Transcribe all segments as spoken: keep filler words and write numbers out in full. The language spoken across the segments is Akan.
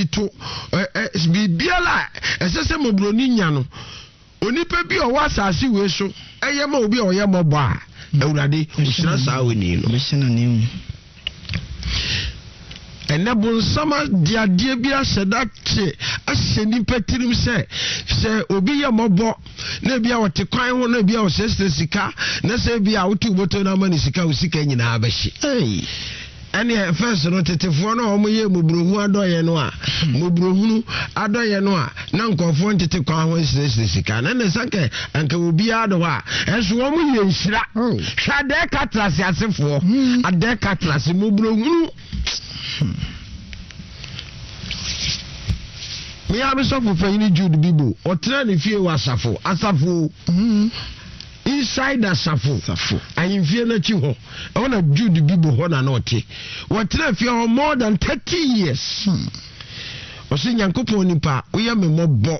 ti to ɛ ɛ biribiara a ɛsɛ sɛ mmɔborɔni nya no, onipa bi a ɔwɔ asase wei so ɛyɛ ma obi a ɔyɛ mmɔbɔ a, Awurade ɔhyira saa onii no. Ɔbɛhyɛ n'ananmu. Ɛnɛ bonsam de adeɛ bi ahyɛ da kye ahyɛ nipa tirim sɛ sɛ obi yɛ mmɔbɔ na ebi a ɔte kwan ho na ebi a ɔsrɛsrɛ sika na sɛ ebi a wotu bɔtɔ no ama ne sika, wo sika nyinaa bɛhye. Ɛneɛ first no, tetefoɔ no a wɔyɛ mmɔborɔhunu adɔyɛ no a mmɔborɔhunu adɔyɛ no a na nkɔfoɔ ntete kwan ho nsrɛsrɛ sika na ne nsa nka anka obiara de hɔ a, ɛnso wɔn yɛ nhyira. Hwɛ, adɛɛ ka trase asefoɔ, adɛɛ ka trase mmɔborɔhunu. Mea me sɔfo panyini Jude Bibo, ɔtena ne fie wɔ Asafo Asafo, inside Asafo ahemfie n'akyi hɔ, ɛhɔ na Jude Bibo hɔ na na ɔte. Wɔtena fie hɔ more than thirty years. Ɔsɛ Nyankopɔn nipa, woyɛ me mmɔbɔ,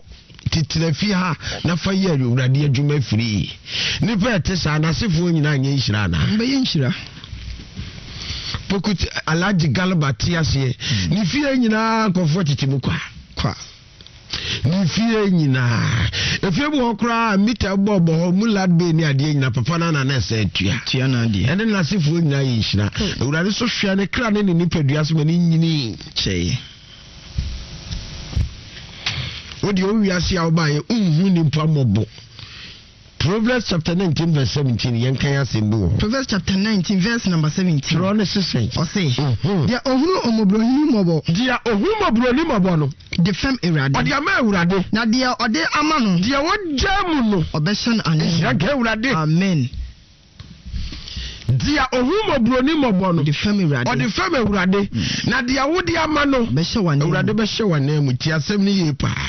titira fie ha na fa yɛ Awurade adwuma firi. Nipa ɛte saa, n'asefoɔ nyinaa nyɛ nhyira anaa? Mbɛyɛ nhyira. Pokut Alhaji Galba te aseɛ, ne fie nyinaa nkɔfoɔ tete mu kwa kwa. Ne fie nyinaa, efie bi hɔ koraa mita bɔ bɔ hɔ mu lad bay ne adeɛ nyinaa, papa no ana na ɛsɛ atua. Tua na adeɛ. Ɛne n'asefoɔ nyinaa yɛ nhyira. Awurade so hwɛ ne kra ne ne nipadua so ma ne nyini. Kyɛe. Wodeɛ wowiase a wobaeɛ wonhu nipa mmɔbɔ. Proverbs chapter nineteen verse seventeen, yɛnkan asɛm bi wɔ hɔ. Proverbs chapter nineteen verse number seventeen. Twerɛ ne sesɛn? Ɔse, deɛ ɔhunu ɔmmɔborɔhini mmɔbɔ Deɛ ɔhu mmɔborɔni mmɔbɔ no de fɛm Awurade. Ɔde ama Awurade. Na deɛ ɔde ama no, deɛ wɔgya mu no, ɔbɛhyɛ no anan. Nhyira nka Awurade. Amen. Deɛ ɔhu mmɔborɔni mmɔbɔ no de fɛm Awurade. Ɔde fɛm Awurade, na deɛ wode ama no, ɔbɛhyɛ w'anan mu. Awurade bɛhyɛ w'anan mu. Ti asɛm no yie paa.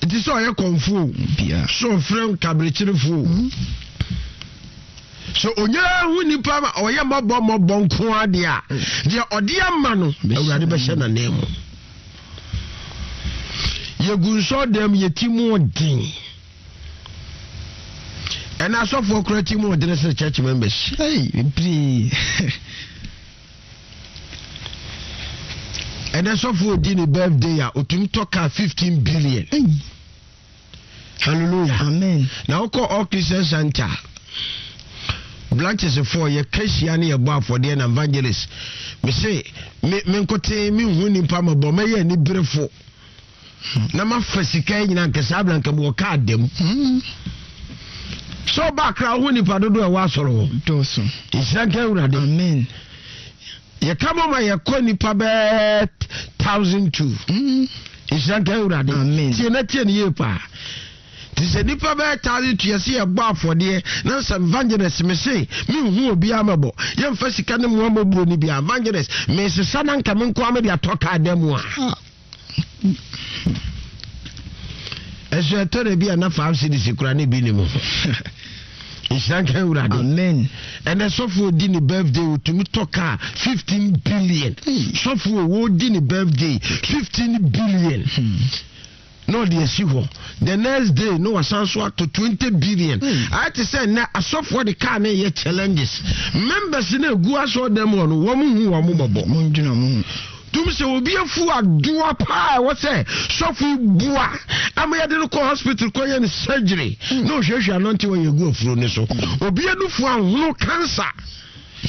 Nti sɛ ɔyɛ kɔnfo o, Bia. sɛ ɔfrɛ nkaberekyerefoɔ o, sɛ onyaa hu nipa ma ɔyɛ mmɔbɔ mmɔbɔ nko adeɛ a, deɛ ɔde ama no, Awurade bɛhyɛ n'anan mu. Yɛgu nsɔ dɛm, yɛti mu ɔden. Ɛna asɔfoɔ kora ti mu ɔden sɛ church members. Hey, bebree. Ɛnɛ sɔfoɔ odi ne birthday a, otumi tɔ car fifteen billion. Hey. Hallelujah. Amen. Na wokɔ All Christian Center branches foɔ, yɛka hyia ne yɛbɔ afɔdeɛ na evangelist mese me me nkote menhu nipa mɔbɔ, mɛyɛ aniberefo na mafa sika yi nyinaa nkɛsɛ abra nka mewɔ kaa dam. Sɛ ɔba akra wo ho, nipa dodoɔ a ɛwɔ asɔre hɔ Dɔɔso. Nhyira nka Awurade. Amen. Yɛka mɔ ma yɛkɔ nipa bɛɛ thousand two. Mm. Nhyira nka Awurade. Amen. Tie na tie ne yie paa. Nti sɛ nipa bɛyɛ thousand two, yɛsɛ yɛbɔ afɔdeɛ na sɛ evangelist me se menhu obiara mɛbɔ, yɛmfa sika ne mmoa mmɔburo no bia, evangelist mesesa na nka me nkoa mede atɔ kaa da mu a, Ah. ɛso ɛtɔ da bi a na five cedis kora ne bi ne mu. Nhyira nka Awurade. Amen. Ɛnɛ sɔfo odi ne birthday, otumi tɔ kaa fifteen billion. Sɔfo odi ne birthday, fifteen billion na ɔde asi hɔ. The next day na wasan so ato twenty billion. Ayɛ te sɛ nnɛ asɔfoɔ de kaa ne yɛ challenges. Members no egu asɔɔ dɛm hɔ no, wɔn hu wɔn mɔbɔ. Mondwena mo ho. Tum sɛ obi afu adoa paa, ɛwɔ sɛ sɔfo yi bua ama yɛde no kɔ hospital kɔyɛ no surgery na ɔhwehwɛ anɔnte wɔ yɛgu afuro no so. Obi anufu ahono cancer.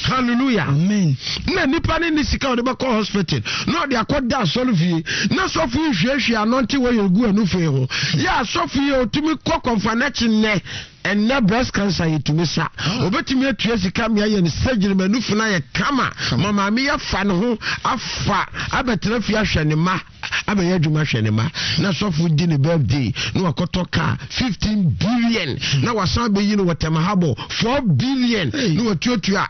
Hallelujah. Amen. Na nipa ne ne sika a ɔde bɛkɔ hospital na ɔde akɔda asɔre fie na sɔfo yi hwiehwie anɔnte wɔ yɛgu anufu yi ho yɛ. Asɔfo yi a ɔtumi kɔ kɔnfa n'akyi nnɛ, ɛnnɛ breast cancer yɛtumi sa, obɛtumi atua sika mmea yɛ no surgery ma nufu no ayɛ kama ma maame yɛfa ne ho afa abɛtena fie ahwɛ ne ma, abɛyɛ adwuma hwɛ ne ma. Na sɔfo di ne birthday na wakɔtɔ car fifteen billion na wasan bɛyi no wɔ Tɛmahabɔ four billion na watuatua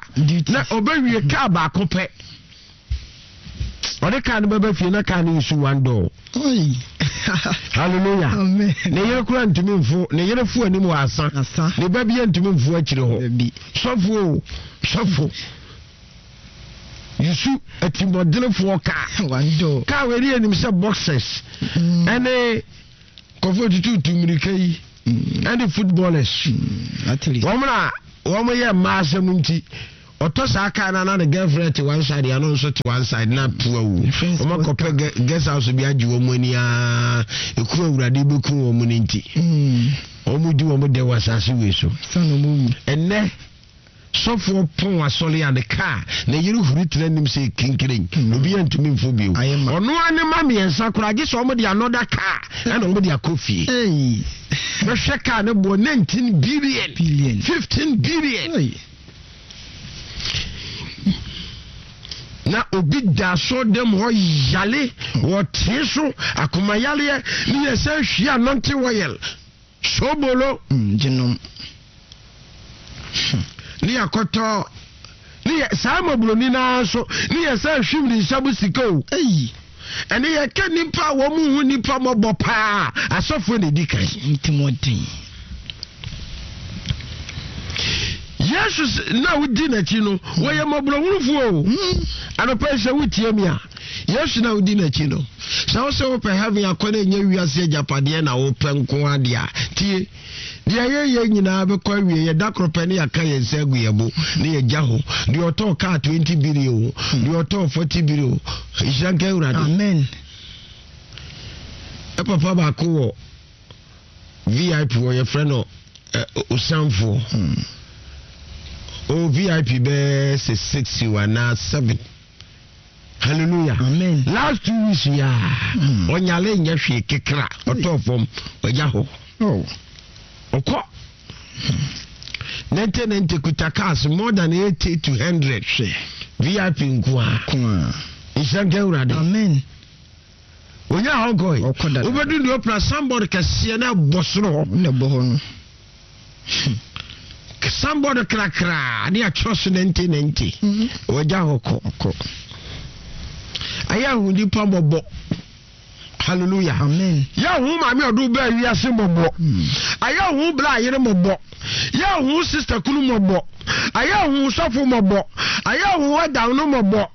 na ɔbɛwie car baako pɛ. Ɔde car no bɛbɛ fie na car no yi so one door. Oi. Hallelujah. Amen. Ne yere kora ntumi mfo, ne yere fo anim wɔ asa. Asa. Ne ba bia ntumi mfo akyire hɔ. Dabi. Sɔfo o, sɔfo yusu atimɔdenefoɔ kaa. One door. Kaa wei ne yɛnim sɛ boxers ɛne kɔfo tututu mmirika yi ɛne footballers At least. wɔn na wɔn yɛ mmaa asɛm nti Ɔtɔ saa kaa na na ne girlfriend te one side, ano nso te one side na pu awu. Wɔn akɔpɛ guest house bi agye wɔn ani aa, eku Awurade bɛku wɔn no nti. Wɔn di wɔn dɛ wɔ asase wei so. Ɛnɛ sɔfoɔ pɔn asɔre a ne kaa na yere huri tena anim sɛ kinkirin. Obi yɛ ntumi mfo bio. Ɔno ara ne ma mmiɛnsa koraa gye sɛ wɔn de another car ɛna wɔn de akɔ fie. Bɛhwɛ kaa ne boɔ nineteen billion, fifteen billion. Na obi da so dem hɔ yale wɔte so akoma yaleɛ ne yɛ sɛ hwie anɔnte wɔyɛl sobolo gyenom ne yɛkɔtɔ ne yɛ saa mɔboroni naa so ne yɛ sɛ hwim ne nsa mu sika o. Ɛne yɛka nnipa a wɔn hu nnipa mmɔbɔ paa asɔfoɔ na edi kan. Ntimɔden. Yesu na wodi n'akyi no wɔyɛ mmɔborɔhunufoɔ o. Anɔpa yi sɛ wotie mi a, Yesu na wodi n'akyi no, sɛ wo sɛ wopɛ heaven akɔ na ɛnyɛ wiase agyapadeɛ na wopɛ nko adeɛ a, tie. Deɛ yɛyɛ nyinaa bɛkɔ awie, yɛda koro pɛ ne yɛaka yɛn nsa agu yɛn bo ne yɛgya hɔ. Deɛ ɔtɔɔ kaa twenty billion o, deɛ ɔtɔɔ forty billion o, nhyira nka Awurade. Amen. Ɛ papa baako wɔ V I P wɔ yɛfrɛ no Osanfoɔ. O V I P bɛɛ sɛ six anaa seven. Hallelujah. Amen. Last two weeks ya. Ɔnyale nyɛ hwee kekra ɔtɔɔ fam ɔgya hɔ. Oh. Ɔkɔ. Nente nente kuta cars more than eighty to hundred. V I P nkoa. Nkoa. Nhyira nka Awurade. Amen. Onya hɔ nkɔe. Ɔkɔ dada. Wobɛdu deɛ ɔpra sambɔd kɛseɛ na ɛbɔ soro hɔ. Na ɛbɔ hɔ no. Sambɔd krakra ne atwerɛ so nente nente. Wɔgya hɔ kɔ. Kɔ. Ayɛ ahu nipa mmɔbɔ. Hallelujah. Amen. Yɛ hu maame ɔdo bɛɛ wiase mmɔbɔ. Ayɛ hu bla ayere mmɔbɔ. Yɛ hu sister kunu mmɔbɔ. Ayɛ hu sɔfo mmɔbɔ. Ayɛ hu ɛdan no mmɔbɔ.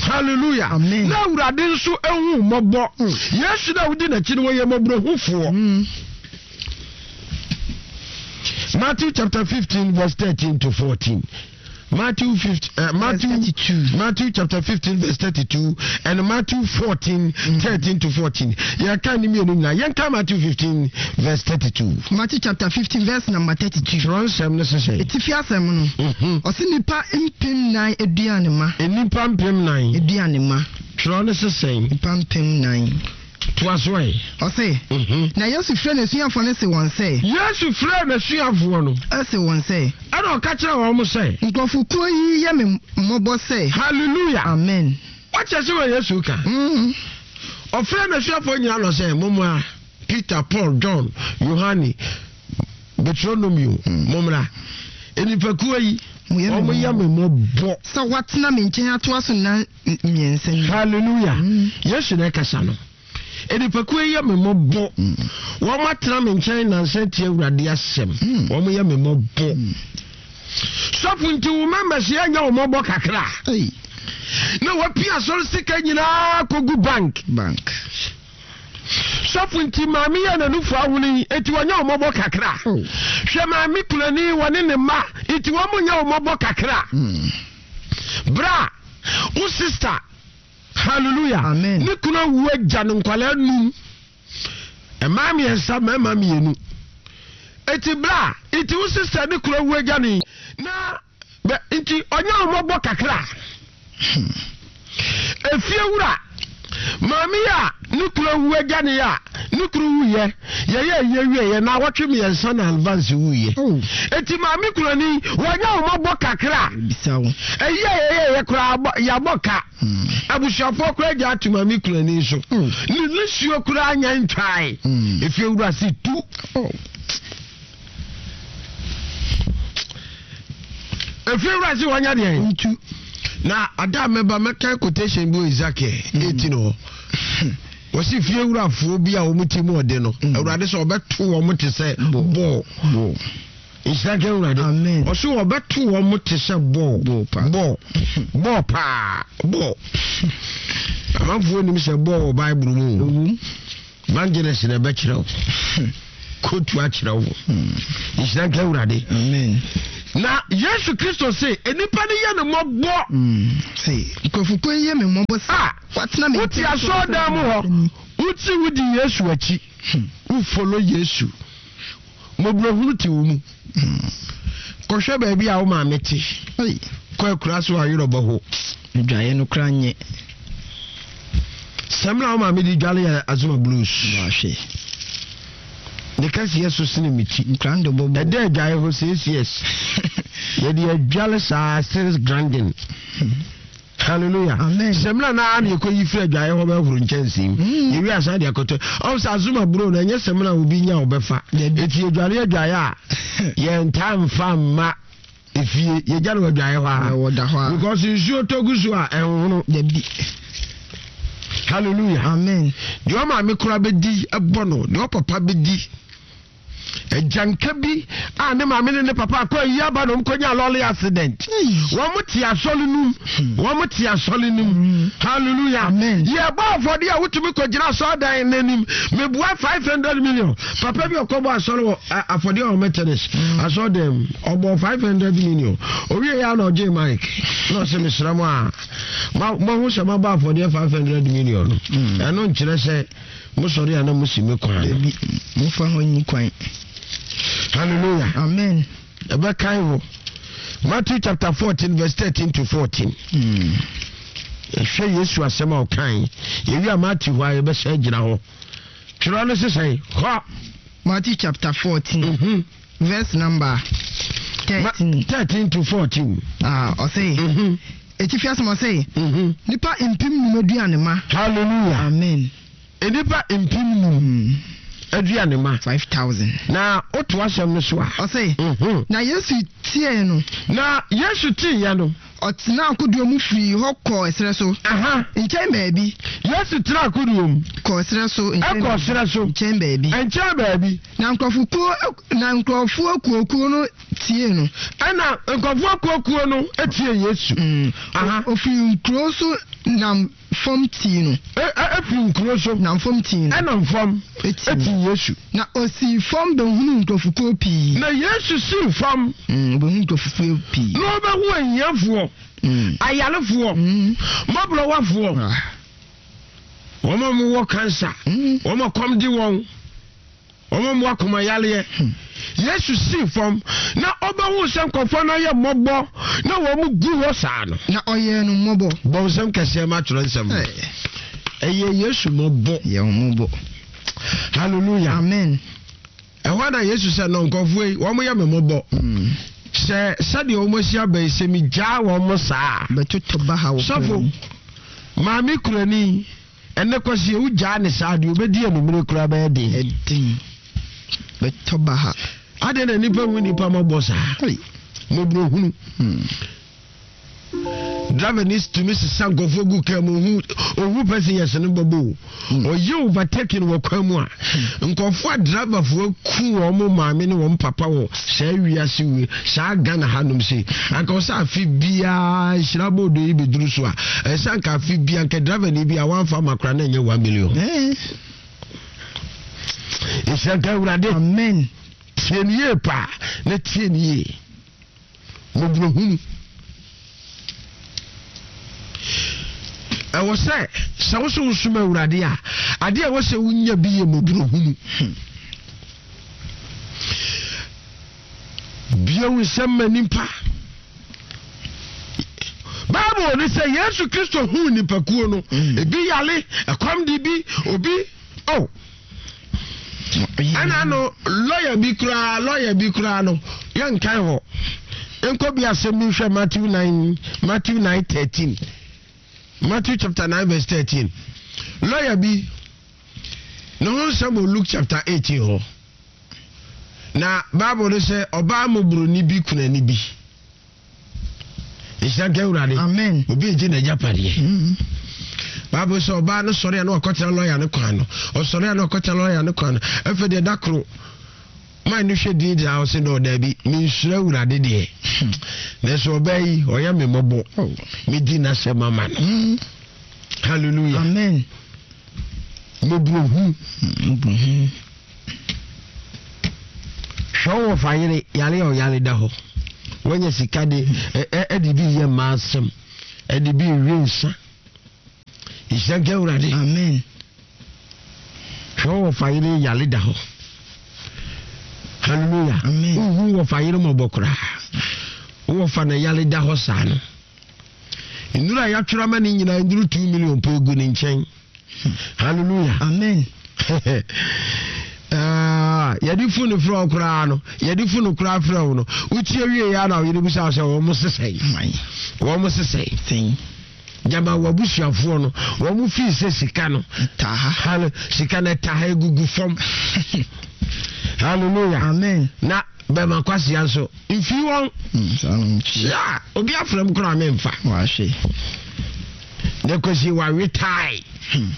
Hallelujah. Amen. Na Awurade nso ehu mmɔbɔ. Yesu na wodi n'akyi no wɔyɛ mmɔborɔhufoɔ. Matthew chapter fifteen verse thirteen to fourteen. Matthew fifteen, uh, Matthew, thirty-two. Matthew chapter fifteen verse thirty-two and Matthew fourteen, mm. thirteen to fourteen. Yeah, can you mean can Matthew fifteen verse thirty-two. Matthew chapter fifteen verse number thirty-two. Twerɛnsɛm no sese. Etifi asɛm no. Ɔsi nipa mpem nnan aduane ma. Nipa mpem nnan. Aduane ma. Twerɛ no sese. Nipa mpem nnan. Toasoe. Ɔse. Na Yesu frɛ n'asuafoɔ no se wɔn sɛ. Yesu frɛ n'asuafoɔ no. Ɔse wɔn sɛ. Ɛna ɔka kyerɛ wɔn sɛ. Nkurɔfokuo yi yɛ me mmɔbɔ sɛ. Hallelujah. Amen. Wakyɛ sɛ wɔ Yesu ka. Ɔfrɛ n'asuafoɔ nyinaa no sɛ mommra. Peter, Paul, John, Yohane, Deuteronomio, mommra. Nnipakuo yi wɔn yɛ me mmɔbɔ. Sɛ wɔatena me nkyɛn atoa so nna mmiɛnsa ni. Hallelujah. Yesu na ɛkasa no. Nnipakuo yi yɛ me mmɔbɔ. Wɔn atena me nkyɛn nansa tie Awurade asɛm. Wɔn yɛ me mmɔbɔ. Sɔfo nti wo members yɛ nyɛ wɔn mmɔbɔ kakra. Na wapia asɔre sika nyinaa kɔgu bank. Bank. Sɔfo nti maame yɛ n'anufo ahono yi eti wɔnyɛ wɔn mmɔbɔ kakra. Hwɛ maame kulani wɔne ne mma eti wɔn nyɛ wɔn mmɔbɔ kakra. Bra wo sister. Hallelujah. Amen. Ne kunu awu agya no nkwalaa num. Mmaa mmiɛnsa mmarima mmienu. Eti bra eti wo sister ne kunu awu agya ne na bɛ nti ɔnyɛ wɔn mmɔbɔ kakra. Efie wura maame a ne kunu awu agya ne a ne kunu wuyɛ yɛyɛ yɛ wie yɛ na wɔtwe mmiɛnsa na advance wuyɛ. Eti maame kulani wɔnyɛ wɔn mmɔbɔ kakra. Ɛyɛ yɛyɛ yɛ koraa yabɔ ka. Abusuafoɔ koraa gya ato maame kulani so. Ne nisuo koraa nya ntwae. Efie wura si tu. Efie wura si wɔnya deɛ. Ntu. Na ada mɛba mɛka quotation bi wɔ Ezekiel eighteen hɔ. Wɔsi fie wurafoɔ bi a wɔn ti mu ɔde no. Awurade sɛ ɔbɛto wɔn te sɛ bɔɔl. Nhyira nka Awurade. Amen. Ɔsi ɔbɛto wɔn te sɛ bɔɔl. Bɔɔl paa. Bɔɔl. Bɔɔl paa. Bɔɔl. Amanfoɔ nim sɛ bɔɔl wɔ Bible mu. Evangelist na ɛbɛkyerɛ wo. Kotu akyerɛ wo. Nhyira nka Awurade. Amen. Na Yesu Kristo se nnipa no yɛ no mmɔbɔ. Se nkurɔfokuo yi yɛ me mmɔbɔ sɛ A watena me wote nkyɛn asɔredan mu hɔ, woti wodi Yesu akyi, wofolo Yesu, mmɔborɔhunu te wo mu. Kɔhwɛ baabi a wo maame te. Ei, Kɔ akura so a yerɛ bɔ ho. Adwaeɛ no koraa nyɛ. Sɛmina wo maame di dwale yɛ Azuma Blues. Wahwɛ. Ne kɛseɛ so sene me ti. Nkran de bɔbɔ. Ɛdɛ adwaeɛ hɔ six years. Yɛde adwale saa still grinding. Hallelujah. Amen. Sɛmina naa na yɛkɔ yi firi adwaeɛ hɔ bɛhoro nkyɛnsee mu. Mm. Yɛwie asan de akɔtɔ. Ɔm sɛ Azuma buro no ɛnyɛ sɛmina obi nya ɔbɛfa. Dabi. Eti yɛdwale adwaeɛ a yɛntaa mfa mma efie, yɛgya no wɔ adwaeɛ hɔ a. Ɛwɔ da hɔ a. Because nsuo tɔ gu so a ɛnhono. Dabi. Hallelujah. Amen. Deɛ ɔmaame koraa bɛdi ɛbɔ no, deɛ ɔpapa bɛdi. Agyanka bi a ne maame ne ne papa akɔ ayi aba na ɔmkɔnya lorry accident. Wɔn mo te asɔre num, wɔn mo te asɔre num. Hallelujah. Amen. Yɛbɔ afɔde a wotumi kɔgyina asɔredan n'anim mebua five hundred million. Papa bi ɔkɔbɔ asɔre wɔ ɛ, afɔde a ɔmɛ tennis asɔredan mu, ɔbɔ five hundred million. Owie yɛ ana ɔgye mic na ɔsɛ mesrɛ mo a ma mahu sɛ mabɔ afɔdeɛ five hundred million no, ɛno nkyerɛ sɛ mosɔre a na mosi me kwan no. Dabi. Momfa hɔ nyi kwan. Hallelujah. Amen. Ɛbɛkan hɔ Matthew chapter fourteen verse thirteen to fourteen. Mm. Ɛhwɛ Yesu asɛm a ɔkan. Yɛwie a Matthew hɔ a yɛbɛhyɛ gyina hɔ. Twerɛ no sesɛn hɔ. Matthew chapter fourteen. Mhm. Verse number Ma- thirteen. thirteen to fourteen. Ah, ɔse. Mhm. Etifi asɛm ɔse. Mhm. Nipa mpem num aduane ma. Hallelujah. Amen. Nnipa mpem num Mm. aduane ma. Five thousand. Na woto asɛm no so a. Ɔse. Mhm. Na Yesu tiee no. Na Yesu tiiɛ no. Ɔtena akodoɔ mu firii hɔ kɔɔ ɛserɛ so. Aha. Nkyɛn baabi. Yesu tena akodoɔ mu. Kɔɔ ɛserɛ so. Nkyɛn Ɛkɔ baabi. serɛ so. Nkyɛn baabi. Nkyɛn baabi. Na nkurɔfokuo na nkurɔfoɔ akuokuo no tie no. Ɛna nkurɔfoɔ akuokuo no tie Yesu. Mm. Aha. Ofiri nkuro so nam fam tii no. Ɛ- ɛ- Efiri nkuro so. Nam fam tii no. Ɛnam fam. Eti. Eti Yesu. Na osii fam bɛhunu nkurɔfokuo pii. Na Yesu sii fam. Mm, obɛhunu nkurɔfokuo pii. Na ɔbɛhu ahiafoɔ, Mm. ayarefoɔ, Mm. mmɔborɔwafoɔ, Ah. wɔn a wɔwɔ cancer, Mm. wɔn a kɔm de wɔn, wɔn a wɔwɔ akomayareɛ. Yesu sii fam na ɔbɛhu sɛ nkurɔfoɔ no ayɛ mmɔbɔ na wɔn gu hɔ saa no. Na ɔyɛɛ no mmɔbɔ. Bɔ nsɛm kɛseɛ ma twerɛ nsɛm no. Eh, Ɛyɛ Yesu mmɔbɔ. Yɛ wɔn mmɔbɔ. Hallelujah. Amen. Ɛhɔ na Yesu sɛ no nkurɔfoɔ yi wɔn yɛ me mmɔbɔ. Mm. Sɛ sɛdeɛ wɔn asi aba yi sɛ megyaa wɔn saa. Bɛtotɔ baha wɔ Sɔfo, kwan mu. Maame kurani ɛnɛ kɔsi ewu gyaa ne saa deɛ obɛdi anumere koraa bɛyɛ den. Ɛden. Bɛtɔ baha. Adeɛ na nipa hu nipa mɔbɔ saa. Ei. Mmɔborɔhunu. Mm. Driver ni tumi sisa nkurɔfoɔ gu kaa mu, ohu ohu passengers no bɔbɔ o. Ɔyɛ overtaking wɔ kwan mu a nkurɔfoɔ a driverfoɔ ku wɔn maame ne wɔn papa wɔ saa wiase wie saa Ghana hanom se anka ɔsɛ afe biara nhyira bɔɔdo yi bɛduru so a, ɛsɛ anka afe biara anka driver ni bi a wɔamfa ma koraa na ɛnyɛ one million. Eh. Nhyira nka Awurade. Amen. Tie ne yie paa na tie ne yie. Mmɔborɔhunu ɛwɔ sɛ sɛ wo so wosom Awurade a, adeɛ a ɛwɔ sɛ wonya bi yɛ mmɔborɔhunu. Bie wo nsɛm ma nipa. Bible ne sɛ Yesu Kristo huu nipakuo no. Mm. Ebi yale, ɛkɔm de bi, obi oh. Ɛna no lɔya bi koraa, lɔya bi koraa no yɛnkan hɔ nkɔ bi asɛm bi nhwɛ Matthew nine, Matthew nine thirteen, Matthew chapter nine verse thirteen. Lɔya bi ne ho nsɛm wɔ Luke chapter eighteen hɔ. Na Bible no sɛ ɔbaa mmɔborɔni bi kunani bi. Nhyira nka Awurade. Amen. Obi egye n'agyapadeɛ. Mm. Bible sɛ ɔbaa no sɔre a na wakɔtena lɔya no kwan no. Ɔsɔre a na wakɔtena lɔya no kwan no. Afei deɛ da koro man no hwɛ din gyina hɔ sɛ na ɔdaabi mensuro Awurade deɛ. Nanso ɔbaa yi ɔyɛ me mmɔbɔ. Oh. Medi n'asɛm ama no. Mm. Hallelujah. Amen. Mmɔborɔhunu. Mmɔborɔhunu. Hwɛ wo wɔfa yere yare a ɔyare da hɔ. Wanya sika de ɛde bi yɛ mmaa asɛm, ɛde bi wie nsa. Nhyira nka Awurade. Amen. Hwɛ wɔ fa yere yale da hɔ. Hallelujah. Amen. Wohu wɔ fa yere mɔbɔ koraa. Wɔ fa na yale da hɔ saa no. Nnuru a yɛatwerɛ ama ne nyinaa nnuru two million po egu ne nkyɛn. Hallelujah. Amen. Ah, yɛde funu frɛ wo koraa no, yɛde funu koraa frɛ wo no, wotie wie yɛ na woyere bisa sɛ wɔn mo sesɛe. Wɔn mo sesɛe. Sɛn. Gyama w'abusuafoɔ no, wɔn mo fii sɛ sika no. Taha. Hall sika no taha egugu fam. Hallelujah. Amen. Na bɛma kwasia nso mfi wɔn. Mm, Ya, obi afrɛ m koraa memfa. Wahwe. Ne kwasi wawe tae. Hmm.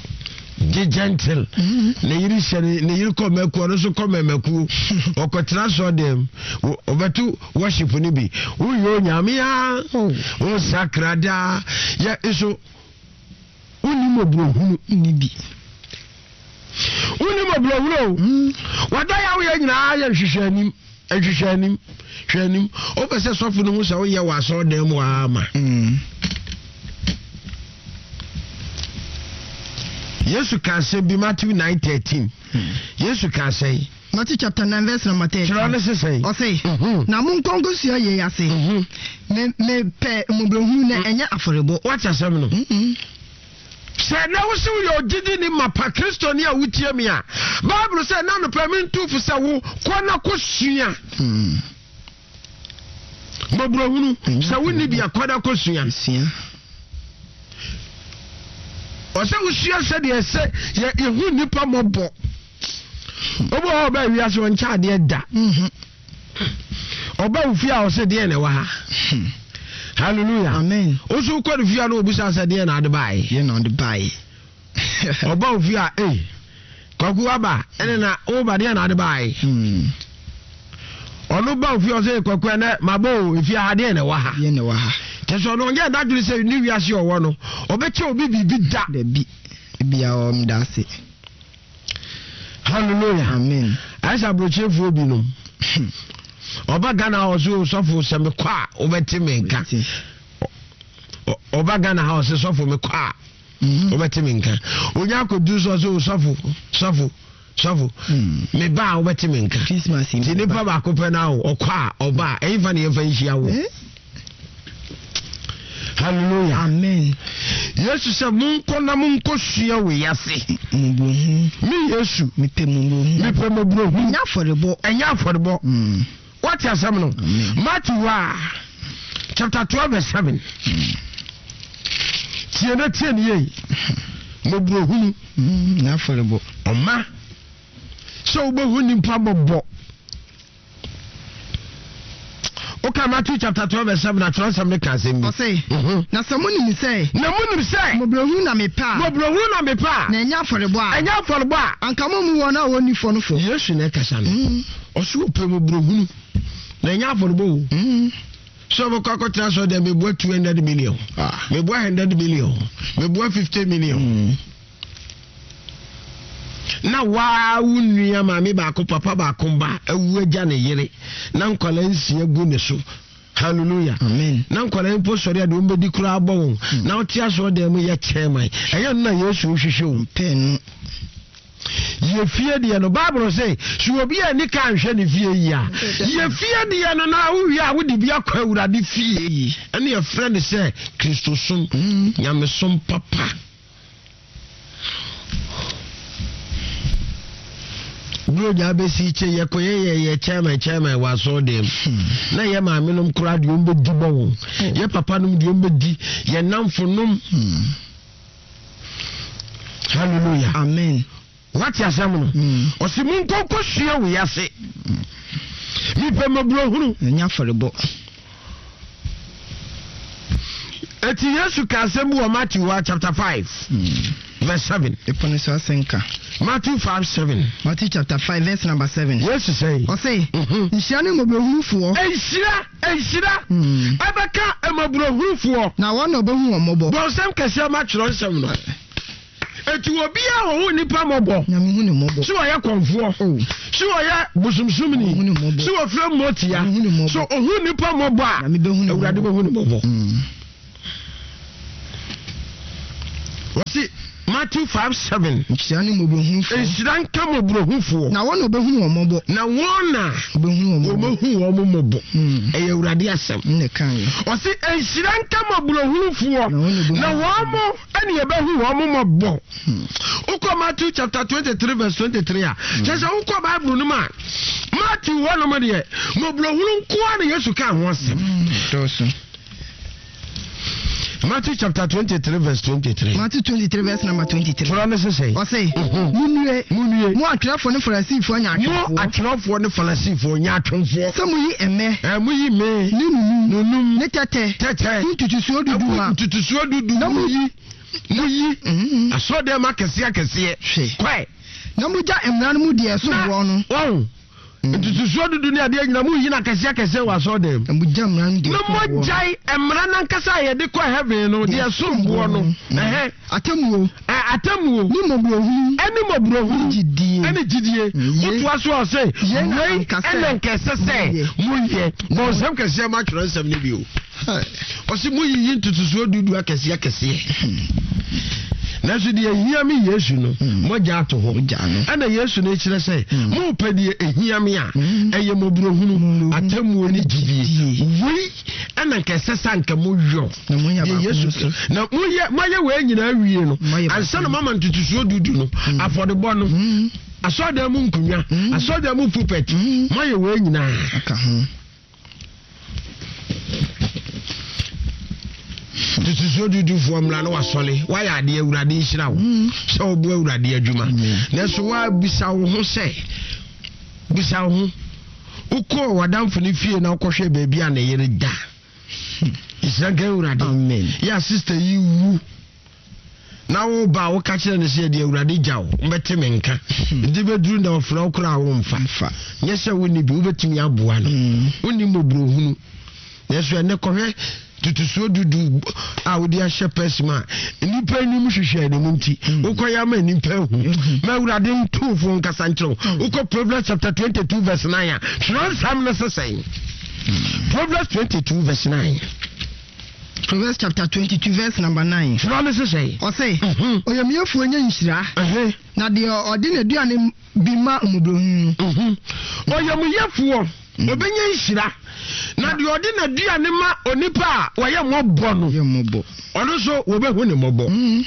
Gye gentle. Ne yere hyɛ ne ne yere kɔ mɛkuo, ɔno nso kɔ mɛmɛkuo. Ɔkɔtena sɔ dɛm. Ɔbɛto worship no bi. Woyɛ onyame a. Oh. Wosakra daa. Yɛ nso wonni mmɔborɔhunu. Ni bi. Wonni mmɔborɔhunu o. Mm. Wada yɛ woyɛ nyinaa yɛ nhwehwɛ anim. Nhwehwɛ anim. Hwɛ anim. Wopɛ sɛ sɔfo no hu sɛ woyɛ wɔ asɔredan mu ama. Mm. Yesu ka asɛm bi Matthew nine thirteen. Hmm. Yesu ka asɛm. Matthew chapter nine verse number thirteen. Kyerɛ ne sesɛn. Ɔse, Mhm. na monkɔ nkɔsua yei ase. Mhm. Me mepɛ mmɔborɔhunu na ɛnyɛ afɔrebɔ. Wate asɛm no. Mm-mm. Sɛ na wo sɛ woyɛ ogyidi ne mapa Kristoni a wotie me a, Bible sɛ na nopɛ mentu fo sɛ wo kɔ na kɔsua Mm. mmɔborɔhunu. Ɛnyɛ Sɛ wonni bi a kɔ na kɔsua. Sua. Ɔsɛ wosua sɛdeɛ sɛ yɛ yɛhu nnipa mmɔbɔ. Obi wɔ hɔ a ɔbaa wiase ɔnkyɛ adeɛ da. Mhm. Ɔba wo fie a ɔsɛ deɛ na ɛwɔ ha. Hmm. Hallelujah. Amen. Woso wokɔ ne fie a na obusa sɛ deɛ na ade baeɛ. Yɛ na ɔde baeɛ. Ɔba wo fie a ei kwaku aba ɛne na woba deɛ na ade baeɛ. Hmm. Ɔno ba wo fie ɔsɛ kwaku ɛnɛ mabɔ o efie ha deɛ na ɛwɔ ha. Yɛ na ɛwɔ ha. Kyɛ sɛ ɔno ɔnyɛ n'adwene sɛ ne wiase ɔwɔ no ɔbɛkyɛ obi biribi da. Dabi. Bia ɔmda ase. Hallelujah. Amen. Ayɛ sɛ aburokyerefoɔ binom. Ɔba Ghana ha ɔsɛ sɔfo sɛ mekɔ a wobɛte me nka. Ti. Ɔ- Ɔba Ghana ha ɔsɛ sɔfo mekɔ a Mhm. wobɛte me nka. Onya akɔduru so ɔsɛ sɔfo sɔfo sɔfo Mm. meba a wobɛte me nka. Christmas yi. Nti nipa baako pɛ na o ɔkɔ a ɔba a ɛyin fa ne yɛmfa nhyia wo. Eh? Hallelujah. Amen. Yesu sɛ monkɔ na monkɔ sua wei ase. Mmɔborɔhunu. Me Yesu Mepɛ mmɔborɔhunu. mepɛ mmɔborɔhunu. Ɛnyɛ afɔrebɔ. Ɛnyɛ afɔrebɔ. Mm. Wate asɛm no? Amen. Matthew a chapter twelve verse seven. Tie na tie ne yie. Mmɔborɔhunu. Mm. Ɛnyɛ afɔrebɔ. Ɔma sɛ wobɛhu nipa mmɔbɔ. Woka Matthew chapter twelve verse seven atwerɛ nsɛm no ka asɛm bi. Ɔse, Mhm. na sɛ monim sɛ Na monim sɛ mmɔborɔhunu na mepɛ a, mmɔborɔhunu na mepɛ a na ɛnyɛ afɔrebɔ a, ɛnyɛ afɔrebɔ a. anka mommu wɔn a wɔnni fɔ no fɔ. Yesu na ɛkasa no. Mm. Ɔso wopɛ mmɔborɔhunu na ɛnyɛ afɔrebɔ o. Mm. Sɛ wobɛkɔ akɔtena sɛ deɛ meboa two hundred million. Ah. Meboa hundred million. Meboa fifty million. Mm. Na waa wo nua maame baako papa baako ba awu agya ne yere na nkwalaa nsia gu ne so. Hallelujah. Amen. Na nkwalaa mpo sɔre a deɛ wɔmbɛdi koraa bɔ wɔn. Na wote asɔre dan mu yɛ chairman. Ɛyɛ no na Yesu hwehwɛ o. Pɛ no. Yɛ fie deɛ no Bible sɛ sɛ obi a ni ka nhwɛ ne fie yi a yɛ fie deɛ no na wowie a wode bi akɔ Awurade fie. Ɛne yɛfrɛ no sɛ Kristosom, Mm. nyamesom papa. Buronya bɛsi kyɛ yɛkɔyɛ yɛ yɛ chairman chairman wɔ asɔre dɛm. Na yɛ maame nom koraa deɛ ɔmbɛdi bɔ wɔn. Yɛ papa nom deɛ ɔmbɛdi, yɛ namfo nom. Mm. Hallelujah. Amen. Wate asɛm no? Mm. Ɔse monkɔ nkɔsua wei ase. Mepɛ mmɔborɔhunu. Ɛnyɛ afɔrebɔ. Eti Yesu ka asɛm bi wɔ Matthew hɔ chapter five Mm. verse seven. Ɛpɔ no so asɛnka. Matthew five seven. Matthew chapter five verse number seven. Yesu sɛ. Ɔse, Mhm. nhyira ne mmɔborɔhunufoɔ. Nhyira nhyira Mm. ɛbɛka mmɔborɔhunufoɔ. Na wɔn na ɔbɛhu wɔn mmɔbɔ. Bɔnsɛm kɛseɛ ma twerɛ nsɛm no. Eti obiara wɔ ho nipa mmɔbɔ. Nyame hu ne mmɔbɔ. Sɛ ɔyɛ kɔnfoɔ. Oh. Sɛ Si ɔyɛ bosomsomni, si wɔfrɛ mmotia, so ɔhu nnipa mmɔbɔ a, Awurade bɛhu ne mmɔbɔ. Wɔsi Matthew five seven. Nhyira ne mmɔborɔhunufoɔ. Nhyira nka mmɔborɔhunufoɔ. Na wɔn na wɔbɛhunu wɔn mmɔbɔ. Na wɔn na wɔbɛhunu wɔn mmɔbɔ. Ɛyɛ Awurade asɛm. Ɔsi nhyira nka mmɔborɔhunufoɔ. Na wɔn mo ɛna yɛbɛhu wɔn mmɔbɔ. Wokɔ Matthew chapter twenty three verse twenty three a, kyerɛ sɛ wokɔ Bible no mu a, Matthew hɔ nom deɛ mmɔborɔhunu nkoa na Yesu ka ho asɛm. Matthew chapter twenty-three verse twenty-three. Matthew twenty-three verse number twenty-three. Twerɛ ne sese. Ɔse. Munue. Munue. Mo atwerɛfoɔ ne Farisifoɔ nya atwomfoɔ. Mo atwerɛfoɔ ne Farisifoɔ nya atwomfoɔ. Sɛ mo yi ɛmɛ. Ɛ mo yi me. Ne nunum. Nunum. Ne tɛtɛ. Tɛtɛ. Ne ntutusuo dudu ma. Ntutusuo dudu. Na mo yi. Mo yi. Asɔdɛm akɛseɛ akɛseɛ. Hwɛ. Kɔɛ. Na mo gya mmara no mu deɛ ɛso boɔ no. Wɔn. Ntutusuo dudu ne adeɛ nyina mo yi na kɛseɛ kɛseɛ wɔ asɔdɛm. Na mo gya mmara no deɛ Na mo gyae mmara nankasa a yɛde kɔ heaven no deɛ ɛsom boɔ no. Ɛhɛ. Atemmuo. Ɛ atemmuo. Ne mmɔborɔhunu. Ɛne mmɔborɔhunu. Ne gyidie. Ɛne gyidie. Wotoa so a ɔse wei ɛna nkɛsɛ sɛ moyɛ. Bɔ nsɛm kɛseɛ ma atwerɛ nsɛm no bio. Ɔse moyiyi ntutusuo dudu akɛseɛ akɛseɛ. Nanso deɛ ehia me Yesu no, mogya ato hɔ. Ɛna Yesu no kyerɛ sɛ mopɛ deɛ ehia me a, ɛyɛ mmɔborɔhunu, atemmuo ne gyidie. Wei ɛna nka ɛsɛ sɛ anka moyɔ. Deɛ Yesu na moyɛ moayɛ wei nyinaa wie no, ansa na moama ntutusuo dudu no, afɔrebɔ no, asɔredan mu nkonnwa, asɔredan mu pulpit, moayɛ wei nyinaa. Tutusuo dudufoɔ mmra na wasɔre wayɛ adeɛ Awurade nhyira wo sɛ woboa Awurade adwuma. Nanso woabisa wo ho sɛ bisa wo ho wokɔɔ w'adamfo no fie na wokɔhwɛ baabi a ne yere da. Nhyira nka Awurade. Yɛ sister yi wu na wo ba woka kyerɛ no sɛ deɛ Awurade gya wo mbɛte me nka nti bɛduru na ɔfrɛ wo koraa wo mfa nyɛ sɛ wonni bi wobɛtumi aboa no wonni mmɔborɔhunu. Nanso ɛnɛ kɔhwɛ tutusuo dudu a wode ahyɛ pɛs mu a nnipa anim hwehwɛ ne mu nti wokɔyɛ ama nnipa ahu ma Awurade ntomfoɔ nkasa nkyerɛ wo. Wokɔ Proverbs chapter twenty-two verse nine a twerɛ nsɛm no sesɛn. Proverbs twenty-two verse nine. Proverbs chapter twenty-two verse number nine. Twerɛ no sesɛn. Ɔse ɔyamyɛfoɔ nya nhyira na deɛ ɔde n'aduane bi ma mmɔborɔhunu no. Ɔyamyɛfoɔ obɛnya nhyira na deɛ ɔde n'aduane ma onipa a wɔyɛ mmɔbɔ no, ɔno nso wɔbɛhu ne mmɔbɔ.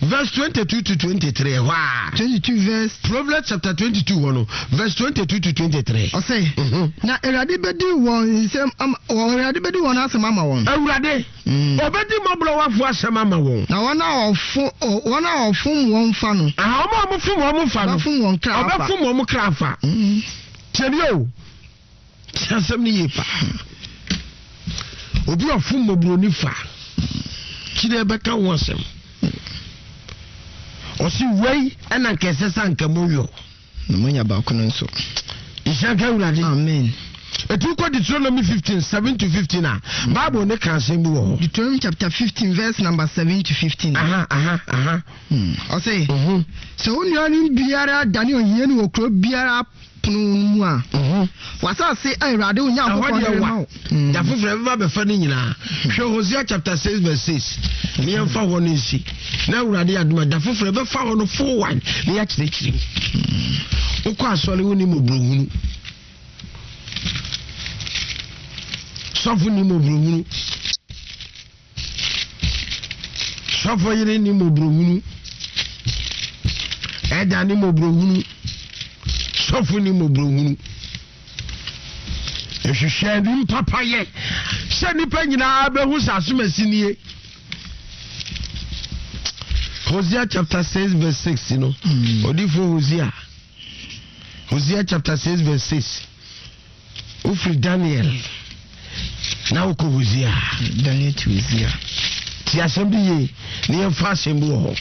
Verse twenty-two to twenty-three. Hɔ a twenty-two verse Proverbs chapter twenty-two hɔ no verse twenty-two to twenty-three. Ɔse na Awurade bɛdi wɔn nsɛm ama Awurade bɛdi wɔn asɛm ama wɔn. Awurade ɔbɛdi mmɔborɔwafoɔ asɛm ama wɔn. Na wɔn a ɔfo wɔn a ɔfom wɔn fa no. Aha wɔn a wɔfom wɔn fa no. Ɔbɛfom wɔn kra afa. Ɔbɛfom wɔn kra afa. Tiɛni o. Asɛm no yie paa. Obi ɔfom mmɔborɔni fa kyerɛ bɛka ho asɛm. Ɔsi wei ɛna nka ɛsɛ sɛ anka moyɔ. Na moanya baako no nso. Nhyira nka Awurade. Amen. Etu kɔ Deuteronomy fifteen seven to fifteen a Bible ne ka asɛm bi wɔ hɔ. Deuteronomy chapter fifteen verse number seven to fifteen. Aha aha aha. Ɔse sɛ wo nuanom biara dane ohiani wɔ kuro biara pono mu a, wasase a Awurade wo Nyankopɔn de rema wo. Da foforɔ ɛbɛba bɛfa no nyinaa. Hwɛ Hosea chapter six verse six. Ne yɛmfa hɔ no nsi. Na Awurade adoma da foforɔ ɛbɛfa hɔ no full one na yɛakyerɛkyerɛ mu. Wokɔ asɔre wo ni mmɔborɔhunu. Sɔfo ni mmɔborɔhunu. Sɔfo yere ni mmɔborɔhunu. Ɛda ni mmɔborɔhunu. Sɔfo ni mmɔborɔhunu. Ehwehwɛ ni mpapayɛ sɛ nipa nyinaa bɛhu sɛ asomasi nie. Hosea chapter six verse six no. Odifo Hosea. Hosea chapter six verse six. Ofiri Daniel na wokɔ Hosea. Daniel to Hosea. Ti asɛm bi yie na yɛmfa asɛm bi wɔ hɔ.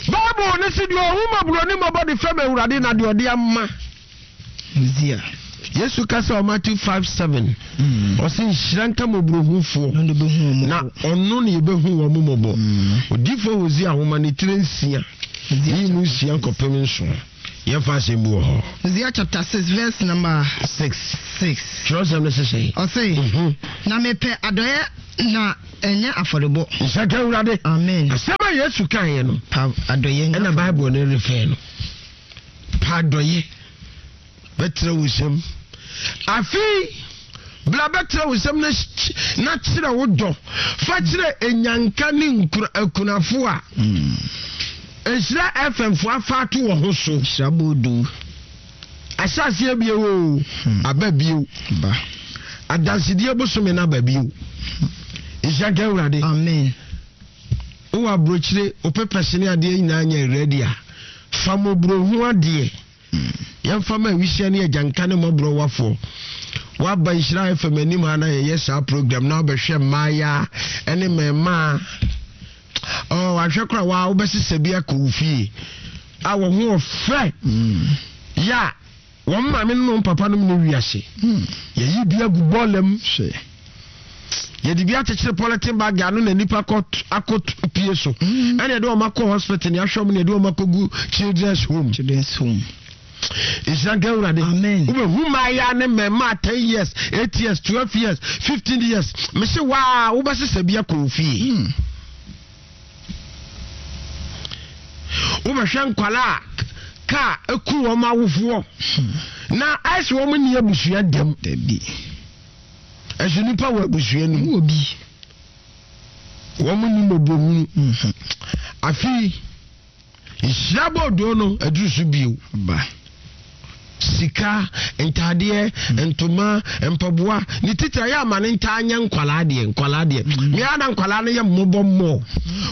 Bible ne si deɛ ɔhu mmɔborɔni mmɔbɔ de fɛm Awurade na deɛ ɔde ama. Hosea. Yesu kasa wɔ Matthew five seven. Ɔse nhyira nka mmɔborɔhufoɔ na ɔno ne yɛbɛhu wɔn mmɔbɔ. Odifo Hosea ahoma ne tire nsia. Yi mu nsia nkɔpem nson. Yɛmfa asɛm bi wɔ hɔ. Hosea chapter six verse number six. Six. Kyerɛwsɛm no sesɛ. Ɔse, Mhm. na mepɛ adɔeɛ na ɛnyɛ afɔrebɔ. Nhyira nka Awurade. Amen. Asɛm a Yesu kaeɛ no, Pa adɔeɛ nyɛ ɛna afɔrebɔ. Bible no refɛ no. Pa adɔeɛ bɛtrɛ wo nsam. Afei, bla bɛtrɛ wo nsam na na kyerɛ wo dɔ. Fa kyerɛ enyanka ne nkura akunafo a Mm. Nhyira F M fo afa ato wɔ ho so. Nhyira boodu. Ahyɛaseɛ bio o, Hmm. aba bio. Ba. Adansedie bosome no aba bio. Nhyira nka Awurade. Amen. Wowɔ aburokyire, wo pepɛs ne adeɛ nyinaa nyɛ ready a, fa mmɔborɔhu adeɛ. Yɛmfa ma awisia ne agyanka ne mmɔborɔwafoɔ. Woaba Nhyira F M anim ha na yɛyɛ saa program na wobɛhwɛ mmaaya ne mmarima. Oh, ahwɛ koraa waa wobɛsesa bi akɔ wo fie a wɔn ho ɔfɛ. Mm. Ya, wɔn maame ne wɔn papa nom ne wiase. Mm. Yɛyi bi agu bɔɔla mu. Hwɛ. Yɛde bi akyekyere polythene bag ano na nipa akɔ akɔ pie so. Mm. Ɛna yɛde wɔn akɔ hospital ne ahwɛ wɔn na yɛde wɔn akɔ gu children's home. Children's home. Nhyira nka Awurade. Amen. Wobɛhu mmaaya ne mmarima ten years, eight years, twelve years, fifteen years. Mese waa wobɛsesa bi akɔ wo fie. Mm. Wobɛhwɛ nkwalaa a kaa eku wɔn awofoɔ. Hmm. Na ayɛ sɛ wɔn nni abusua dɛm. Dabi. Ɛso nipa wɔ abusua no mu. Wɔ bi. Wɔn nni mmɔborɔhunu. Mhm. Afei, nhyira bɔɔdo no aduru so bio. Ba. Sika, ntadeɛ, ntoma, mpaboa, ne titire ayɛ ama ne ntaa nyɛ nkwalaa deɛ, nkwalaa deɛ. Mm. Mmea na nkwalaa no yɛ mmɔbɔ mmɔ.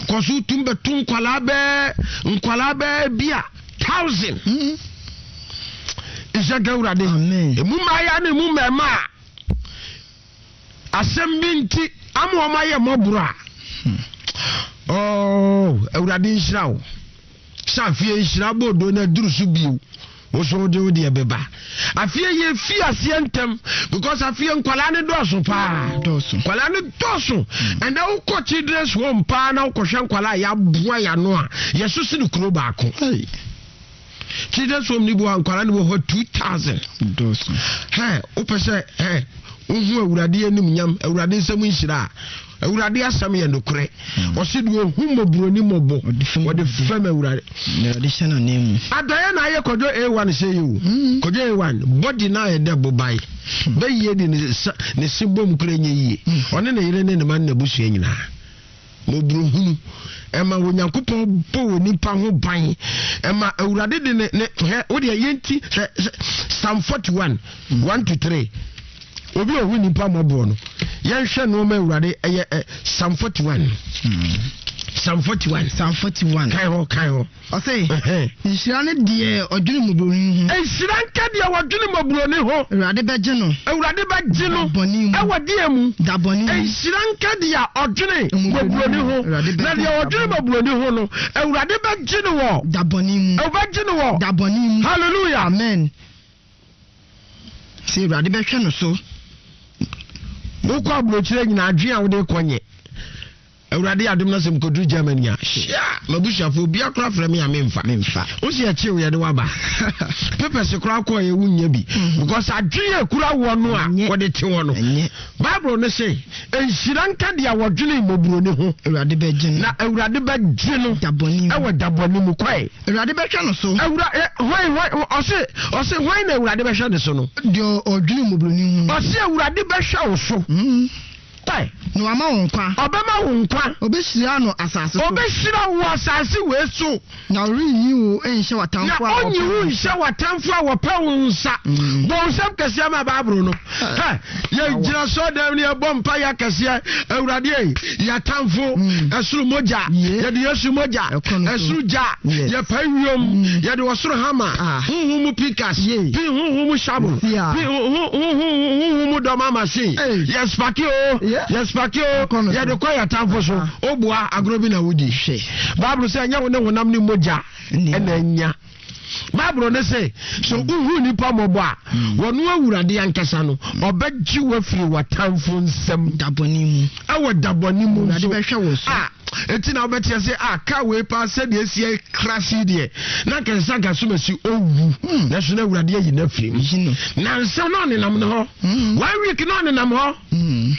Kɔ so tum bɛto nkwalaa bɛɛ, nkwalaa bɛɛ bi a thousand. Mm. Nhyira nka Awurade. Amen. Emu mmaaya ne emu mmarima a asɛm bi nti ama wɔn ayɛ mmɔborɔ a. Hmm. Oh, Awurade nhyira wo. Sɛ afei nhyira bɔɔdo no aduru so bio. Woso wode wo deɛ bɛba. Afei yɛ fi aseɛ ntɛm because afei nkwalaa ne dɔɔso paa. Dɔɔso. Nkwalaa ne dɔɔso. Ɛnna wokɔ children's home paa na wokɔhwɛ nkwalaa a yɛaboa yɛano a yɛso si ne kuro baako. Hey. Children's home ni bi wɔ nkwalaa ne wɔ hɔ two thousand. Dɔɔso. Hɛ, wopɛ sɛ hɛ wohu Awurade anim nyam, Awurade nsɛm nhyira a, Awurade asɛm yɛ nokorɛ. Ɔse deɛ ohu mmɔborɔni mmɔbɔ, Ɔde fam wɔde fam Awurade. Na Awurade hyɛ n'anan mu. Adɔeɛ na ayɛ Kwadwo A one sɛ yi o. Mm. Kwadwo A one, body na ayɛ dɛ bobae. Bɛyie de ne sa ne se bom kura nyɛ yie. Ɔne ne yere ne ne ma ne n'abusua nyinaa. Mmɔborɔhunu ɛma Onyankopɔn bɔ wɔ nipa ho ban. Ɛma Awurade de ne ne hɛ wo deɛ yɛnti hwɛ hwɛ Psalm forty one one to three. Obi a ohu nipa mmɔborɔ no, yɛnhwɛ nneɛma Awurade ɛyɛ ɛ Psalm forty one. Psalm forty one. Psalm forty one. Kan hɔ, kan hɔ. Ɔse, Ɛhɛn. nhyira ne deɛ ɔdwene mmɔborɔni ho. Nhyira nka deɛ ɔdwene mmɔborɔni ho. Awurade bɛgye no. Awurade bɛgye no. Da bɔne mu. Ɛwɔ deɛ mu. Da bɔne mu. Nhyira nka deɛ ɔdwene mmɔborɔni ho. Awurade bɛgye Na deɛ no. ɔdwene mmɔborɔni ho no, Awurade bɛgye no wɔ. Da bɔne mu. Ɔbɛgye no wɔ. Da bɔne mu. Hallelujah. Amen. Sɛ Awurade bɛhwɛ no so. Wokɔ aburokyire nyinaa adwene a wode kɔ nyɛ. Awurade adom na sɛ mekɔduru Germany a, hyia, m'abusuafoɔ obiara koraa frɛ me a memfa. Memfa. Wo sɛ yɛkyew yɛde waba. Papers koraa kɔɔ yɛ wonnya bi. Mhm. Because adwene a ekura wɔ no a Ɛnyɛ. wɔde te hɔ no. Ɛnyɛ. Bible no se, nhyira nka deɛ wɔdwene mmɔborɔni ho. Awurade bɛgye no. Na Awurade bɛgye no. Da bɔne mu. Ɛwɔ da bɔne mu kɔe. Awurade bɛhwɛ no so. Awura, eh, hwan, hwan, ɔse, ɔse, hwan na Awurade bɛhwɛ ne so no? Deɛ ɔdwene mmɔborɔni ho. Ɔse Awurade bɛhwɛ wo so. Mm. Kɔe. Na wama wo nkwa. Ɔbɛma wo nkwa. Ɔbɛhyira no asase so. Ɔbɛhyira wo asase wei so. Na ɔrenyi wo nhyɛ w'atamfo Na a wɔpɛ ɔnyi wo wo. nhyɛ w'atamfo a wɔpɛ wo nsa. Mm. Bɔ nsɛm kɛseɛ ma Bible no. Hɛ, yɛgyina sɔɔdan ne yɛbɔ mpa yɛ akɛseɛ. Awurade ei, yɛatamfo, Mm. ɛsoro mogya, Yeah. yɛde Yesu mogya, Ɛkɔ no so. ɛsoro gya, Yes. yɛpae wiem, Mm. yɛde ɔsoro hama, Ah. honhom mu pikas, Yeah. pi honhom mu shovel, Yeah. pi honhom mu dɔm machine. Hey. Yɛspake o, Yeah. yɛspake o, Ɛkɔ no so. yɛde kɔ yɛatamfo so. Ah. Oboa agorɔ bi na wodi. Hwɛ. Bible sɛ ɛnyɛ wo ne honam ne mogya Ɛnni. ɛna anya. Bible ne sɛ, sɛ wohu nnipa mmɔbɔ a, wɔno Awurade ankasa no, ɔbɛgye wo afiri w'atamfo nsam. Dabɔne mu. Ɛwɔ dabɔne mu Awurade nso. bɛhwɛ wo so. A, enti na wobɛteɛ sɛ, a, kaa wei paa sɛdeɛ esi krasi deɛ, na nka ɛsɛ sɛ anka so masi owu. Nanso na Awurade ayi no afiri mu. Yi no. Nansa na ɔnenam ne hɔ. One week na ɔnenam hɔ. Mm.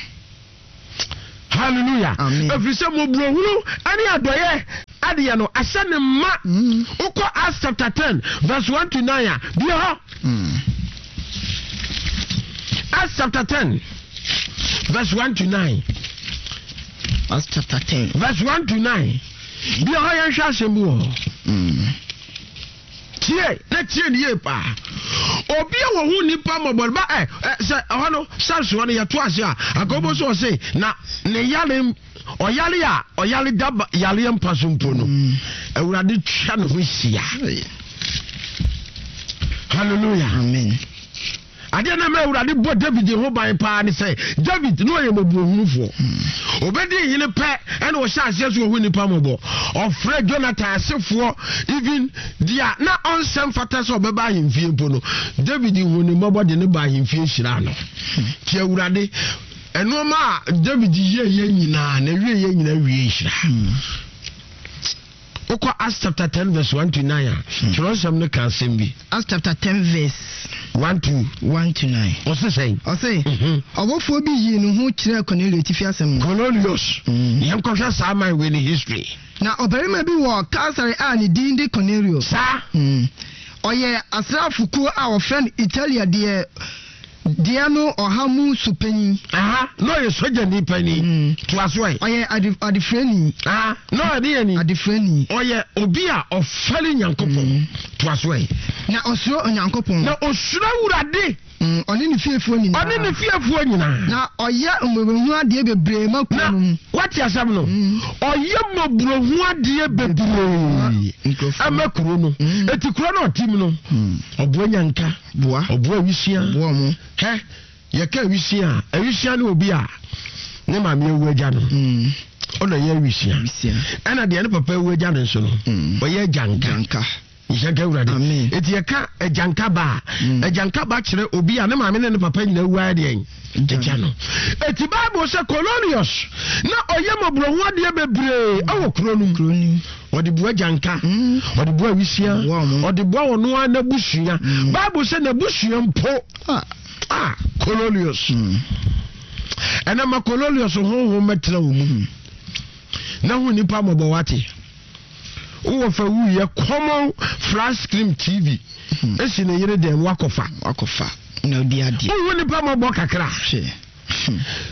Hallelujah. Amen. Ɛfiri sɛ mmɔborɔhunu ne adɔeɛ adeɛ no ahyɛ ne ma. Wokɔ Acts chapter ten verse one to nine a, bie hɔ. Acts chapter ten verse one to nine. Acts chapter ten. Verse one to nine. Bie hɔ, yɛnhwɛ asɛm bi wɔ hɔ. Tie na tie ne yie paa. Obi a wɔhu nipa mmɔbɔ ba ɛ ɛ sɛ ɛhɔ no Samson hɔ no yɛto ase a, akɔbɔ so ɔse na ne yare ɔyare a ɔyare da ba- yareɛ mpa so mpo no, Awurade twa ne ho hyia. Hallelujah. Amen. Adeɛ na ma Awurade bɔ David ho ban paa ne sɛ David ne ɔyɛ mmɔborɔhunufoɔ. Obɛdi hene pɛ ɛna ɔhyɛ aseɛ so ɔhu nnipa mmɔbɔ. Ɔfrɛ Jonathan asefoɔ, even deɛ na ɔnsɛ mfata sɛ ɔbɛba ahemfie mpo no, David hu ne mmɔbɔ de ne ba ahemfie hyiraa no. Nti Awurade ɛnoɔma a David yɛyɛ nyinaa na wieyɛ nyinaa wie nhyira. Wokɔ Acts chapter ten verse one to nine a, twerɛsɛm no ka asɛm bi. Acts chapter ten verse one to one to nine. Ɔse sɛn? Ɔse, Mhm. ɔbɔfoɔ bi yii ne ho kyerɛɛ Cornelio atifi asɛm no. Cornelius. Yɛnkɔhwɛ saa man wei ne history. Na ɔbarima bi wɔ Kaesare a ne din de Cornelio. Saa. Mm. Ɔyɛ asraafokuo a wɔfrɛ no Italia deɛ deɛ no ɔha mu so panyin. Aha, na ɔyɛ sogyani panyin. Toa so ɛ. Ɔyɛ ade adefrani. Aha, na ɔyɛ deɛ ni? Adefrani. Ɔyɛ obi a ɔfɛre Nyankopɔn. Toa so ɛ. Na ɔsuro Onyankopɔn. Na osuro Awurade. Mm, ɔne ne fiefoɔ nyinaa. Ɔne ne fiefoɔ nyinaa. Na ɔyɛ mmɔborɔhunu adeɛ bebree ma kuro Na no mu. wate asɛm no, ɔyɛ mmɔborɔhu adeɛ bebree Nkurɔfoɔ. ɛma kuro no. Eti kuro no ɔte mu no, ɔboa nyanka, Boa. ɔboa awisia. Boa ɔmo. Hɛ, yɛka awisia a, awisia ne obi a ne maame awu agya no. Mm. Ɔna ɛyɛ awisia. Awisia. Ɛna deɛ ne papa awu agya no nso no, ɔyɛ agyanka. Gyanka. Nhyɛnka Awurade. Amen. Eti yɛka agyanka ba a, agyanka ba kyerɛ obi a ne maame ne ne papa nyinaa wu ayɛ deɛn? Agya no. Eti Bible sɛ Cornelius na ɔyɛ mmɔborɔho adeɛ bebree ɛwɔ kuro no mu. Kuro no mu. Ɔde boa gyanka, ɔde boa awisia, Boa ɔmo. ɔde boa ɔno ara n'abusua. Bible sɛ n'abusua mpo Ah. a Cornelius. Ɛnna ma Cornelius honhom mɛtena wo mu. Na hu nipa mmɔbɔ, wate. Wowɔ fa wuyɛ common flat screen T V esi ne yere dɛm, wakɔfa. Wakɔfa. Na odi adeɛ. Wohu nipa mmɔbɔ kakra. Hwɛ.